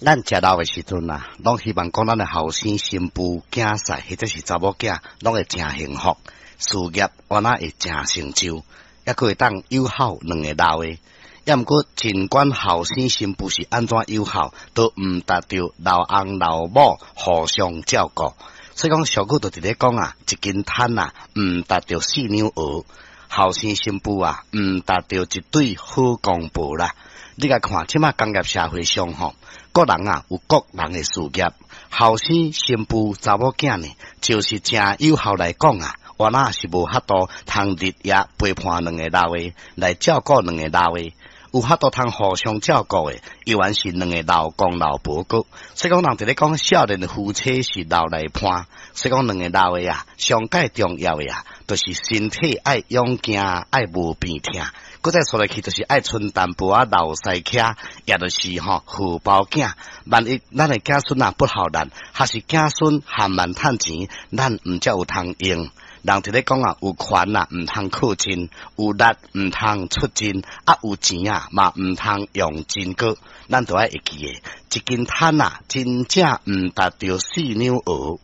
咱食老的時陣啊，攏希望講咱的後生新婦、囝婿或者是查某囝，攏會誠幸福，事業原來會誠成就，抑閣會當友好兩个老的。抑毋過，儘管後生新婦是按怎友好，都毋達著老翁老某互相照顧。所以講俗語就佇咧講啊，一斤炭啊，毋達著四兩鵝；後生新婦啊，毋達著一對好公婆啦。你共看，這馬工業社會上吼，各人啊有各人的事業，後生新婦查某囝呢，就是誠有效來講啊，原來是無法度通日夜陪伴兩个老的來照顧兩个老的，有法度通互相照顧的，猶原是兩个老公老婆閣。所以講人佇咧講少年的夫妻是老來伴，所以講兩个老的啊，上蓋重要的啊，就是身體愛勇健，愛無病疼。閣再說落去，就是愛賰淡薄仔老師車，也就是吼荷包囝。萬一咱的子孫啊不孝難，還是子孫含慢趁錢，咱毋才有通用。人佇咧講啊，有權啊，毋通靠盡；有力毋通出盡；啊，有錢啊，嘛毋通用盡閣。咱都愛會記得，一斤炭啊，真正毋達著四兩鵝。